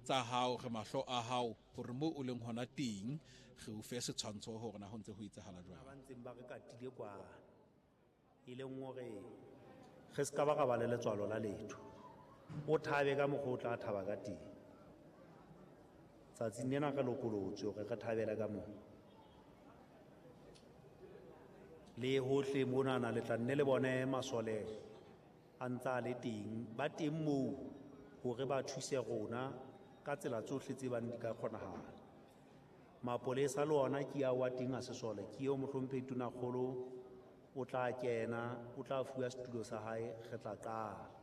Tsa hao, re mahlo a hao hore moo o leng hona teng, re o fe setshwantsho hore na ho ntse ho etsahala jwang. Ba ntseng ba re katile kwana, e leng hore re se ka ba ra ba le letswalo la letho. O thabe ka mokgwa o tla thaba ka teng. Tsatsing lena re lokolotswe hore re thabele ka moo. Le hohle monana le tla nne le bone masole a ntse a le teng, ba teng moo hore ba thuse rona ka tsela tsohle tse bang di ka kgonahala. Mapolesa le ona ke ao a teng a sesole, ke eo mohlomphehi Tonakgolo o tla kena, o tla fuwa setulo sa hae, re tla qala.